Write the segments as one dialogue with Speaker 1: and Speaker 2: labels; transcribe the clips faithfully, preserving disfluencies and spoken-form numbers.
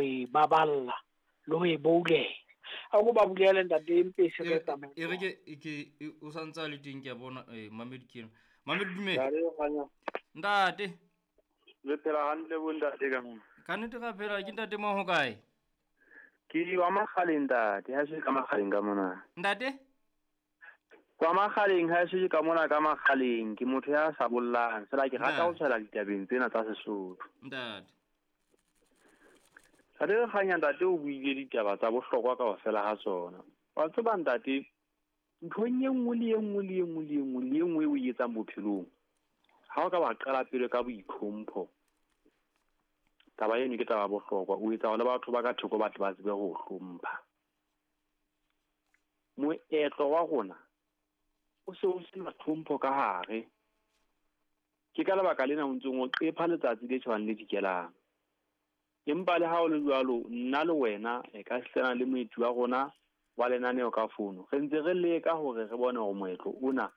Speaker 1: ho e baballa le ho e boulela. A ko ba bulele ntate Mpesi re tsamaye.
Speaker 2: E re ke ke o santse le teng ke a bona eh Mamedi ke ena. Mamedi dumela. Ntate.
Speaker 3: Le phela hantle bo ntate ka mona.
Speaker 2: Ka nnete ra phela ke ntate mo ho kae?
Speaker 3: Ke wa Makgaleng ntate, ha se ka Makgaleng ka mona.
Speaker 2: Ntate?
Speaker 3: Kwa Makgaleng ha se ka mona ka Makgaleng, ke motho ya sa bollang, fela ke rata ho tshela ditabeng tsena tsa Sesotho.
Speaker 2: Ntate.
Speaker 3: Ntate re kganya ntate o buile ditaba tsa bohlokwa kaofela ha tsona. Wa tseba ntate, nthong e nngwe le e nngwe le e nngwe le e nngwe le e nngwe o e etsang bophelong, ha o ka wa qala pele ka boitlhompho, taba eno ke taba bohlokwa, o etsa hore le batho ba ka thoko ba tle ba tsebe ho hlompha. Moetlo wa rona o se o sena tlhompho ka hare. Ke ka lebaka lena o ntseng o qepha letsatsi le tjhabang le dikelang. Empa le ha o le jwalo, nna le wena e ka sena le moeti wa rona wa lenaneo ka fono, re ntse re leka hore re bone hore moetlo ona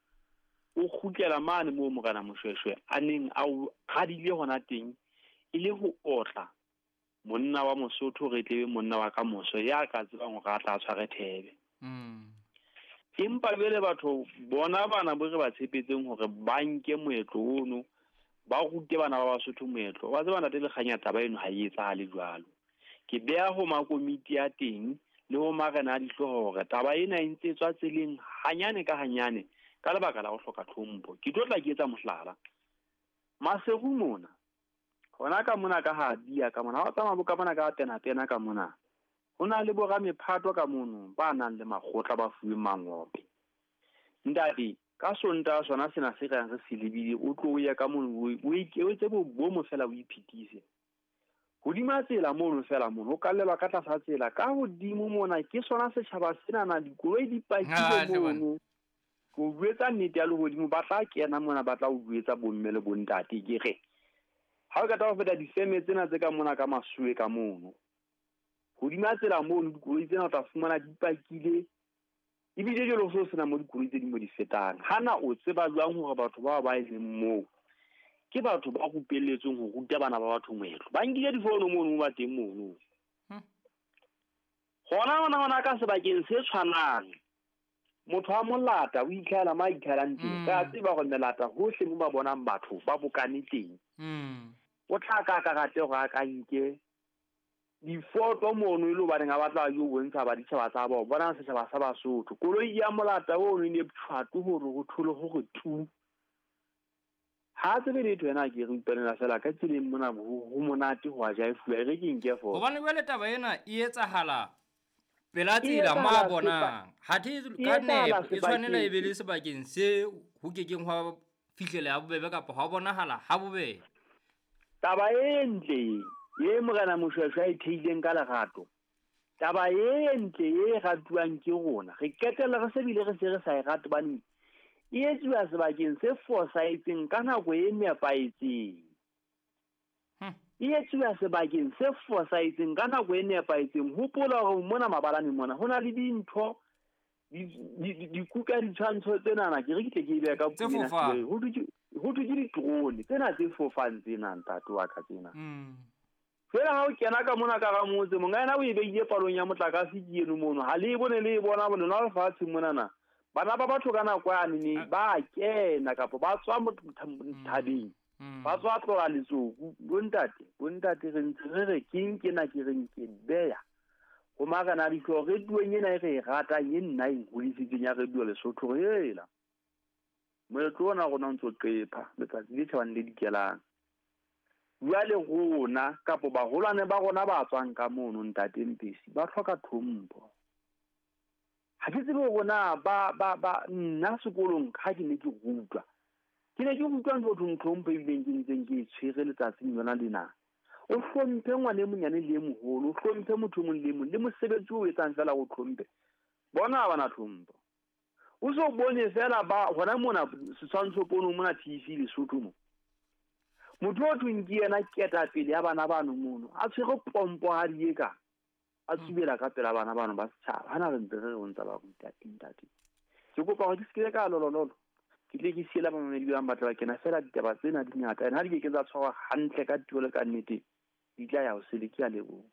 Speaker 3: o kgutlela mane moo Morena Moshoeshoe a neng a o radile hona teng, e le ho otla monna wa Mosotho re tlebe monna wa kamoso ya ka tsebang hore a tla tshware thebe.
Speaker 2: Mm.
Speaker 3: Empa jwale batho bona bana bo re ba tshepetseng hore ba nke moetlo ono, ba rute bana ba Basotho moetlo. Wa tseba ntate Lekganya, taba eno ha e etsahale jwalo. Ke beha ho makomiti a teng le ho marena a dihlooho hore taba ena e ntse tswa tseleng hanyane ka hanyane ka lebaka la ho hloka tlhompho. Ke tlo tla ke etsa mohlala. Maseru mona, hona ka mona ka ha bia ka mona, ha o tsamaya bo ka mona ka tena tena ka mona, ho na le bo ramephato ka mono ba nang le makgotla ba fuweng mangope. Ntate, ka Sontaha sona sena se reng re se lebile, o tlo ya ka mono o etse bomo fela o iphitise. Hodima tsela mono fela mono, ho kallelwa ka tlasa tsela, ka hodimo mona ke sona setjhaba senana, dikoloi di pakile mono. Ko jwetsa nnete ya lehodimo, ba tla kena mona ba tla o jwetsa bomme le bontate ke re ha o ka tla ho feta difeme tsena tse ka mona ka masuwe ka mono. Hodima tsela mono dikoloi tsena o tla fumana di pakile, ebile jwale ho se sena mo dikoloi tse ding mo di fetang. Hana o tseba jwang hore batho bao ba e leng moo ke batho ba rupelletsweng ho ruta bana ba batho moetlo? Ba nkile difono mono mo ba teng mono. Hona hona hona ka sebakeng se tshwanang, motho wa molata o itlhela ma itlhelang teng. Ka tseba hore melata hohle mo ba bonang batho ba bokane teng. O tla ka ka rate hore a ka nke difoto mono e le hobaneng a batla yo bontsha ba ditjhaba tsa bona, bona setjhaba sa Basotho. Koloi ya molata ono e ne pshwato hore ho thole hore tu. Ha tsebe letho yena ke re utlwanela fela ka tseleng mona ho monate ho a jaifuwa, e re ke nke fo.
Speaker 2: Hobane jwale taba ena e etsahala pela tsela ma bonang. Ha the ka nepo e tshwanela e be le sebakeng se ho kekeng hwa fihlela ha bobebe kapa hwa bonahala ha bobebe.
Speaker 3: Taba e ntle ye Morena Moshoeshoe a e theileng ka lerato, taba e ntle e ratuwang ke rona, re qetella re se bile re se re sa e rate hobane e etsuwa sebakeng se fosahetseng ka nako e nepahetseng. E etsuwa sebakeng se fosahetseng ka nako e nepahetseng. Hopola hore mona mabalane mona ho na le dintho dikuka ditshwantsho tsenana, ke re ke tle ke e beha ka puo ho thwe ke di-drone tsena tse fofang tsena ntate wa ka tsena. Fela ha o kena ka mona ka ra motse, monga yena o e beile palong ya motlakase ke eno mono, ha le e bone le e bona lona lefatsheng monana. Bana ba batho ka nako yane ne ba kena kapa ba tswa thabeng, ba tswa tlola letsoku. Bontate, bontate re ntse re re keng kena ke reng ke beya ho marena dihlooho re tueng ena e re e ratang e nna e nhodisitseng ya Radio Lesotho re ela. Moetlo ona rona o ntso qepha letsatsi le tjhabang le dikelang. Jwale rona kapo baholwane ba rona ba tswang ka mono ntate Mpesi ba hloka tlhompho. Ha ke tsebe hore na ba ba ba nna sekolong ha ke ne ke rutwa, ke ne ke rutwa ntho thong tlhompho ebileng ke ntseng ke e tshwere letsatsing lona lena. O hlomphe ngwana e monyane le e moholo, o hlomphe motho e mong le e mong, le mosebetsi o etsang fela o hlomphe. Bona ha bana tlhompho. O so bone fela ba hona mona setshwantsho pono mona T V Lesotho mo. Motho o thweng ke yena ketapele ya bana bano mono, a tshwere pompo ha di eka, a tsubela ka pela bana bano ba setjhaba. Hana re ntse re re o ntsa ba ruta ntate. Ke kopa hore ke se ke ka lolololo, ke tle ke siela bamamedi ba batla ba kena fela ditaba tsena di ngata, and ha di ke ke tsa tshwarwa hantle ka tuelo ka nnete, di tla ya ho sele. Ke a leboha.